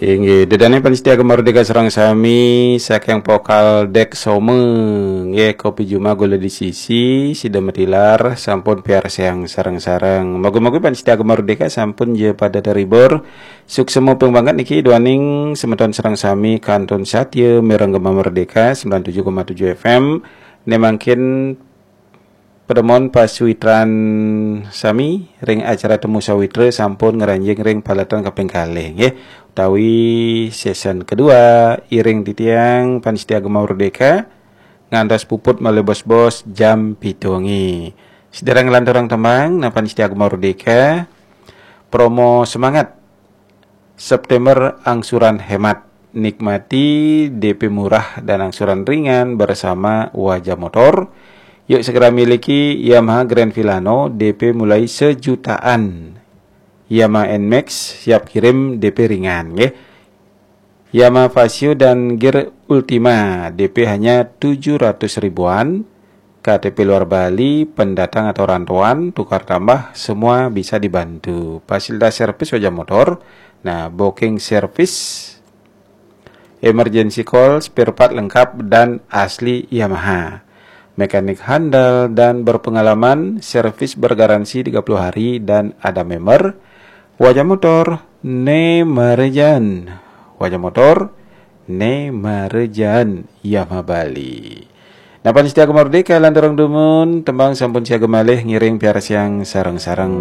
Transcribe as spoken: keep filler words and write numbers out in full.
Inggih, ida dané pamiarsa Gema Merdeka sareng sami, saking Pokal Dek Some, nggih, Kopi Juma Gula di Sisi, sida matilar sampun piarsayang sareng-sareng. Moga-moga pamiarsa Gema Merdeka sampun ja pada terhibur. Suksma ping banget niki duaning semeton sareng sami kantun satya mireng Gema Merdeka sembilan tujuh koma tujuh F M. Né mangkin Pedemon pasuitran sami ring acara Temu Sawitra sampun ngranjing ring paletan kaping kalih, nggih, utawi season kedua. Iring titiang pamiarsa Gema Merdeka ngantos puput malih bos-bos jam pitu wengi. Sedereng nglanturang tembang, nah, pamiarsa Gema Merdeka, promo semangat September angsuran hemat. Nikmati D P murah dan angsuran ringan bersama Wajah Motor. Yuk segera miliki Yamaha Grand Filano, D P mulai sejutaan. Yamaha N-Max siap kirim, D P ringan, nggih. Yamaha Fazzio dan Gear Ultima, D P hanya tujuh ratus ribuan. K T P luar Bali, pendatang atau rantauan, tukar tambah, semua bisa dibantu. Fasilitas servis Wajah Motor, nah, booking service, emergency call, spare part lengkap dan asli Yamaha. Mekanik handal dan berpengalaman, servis bergaransi tiga puluh hari dan ada member. Wajah Motor, né marejaan. Wajah Motor, né marejaan, Yamaha Bali. Nah, pamiarsa Gema Merdeka, lanturang dumun, tembang sampun siaga malih ngiring piarsayang sareng-sareng.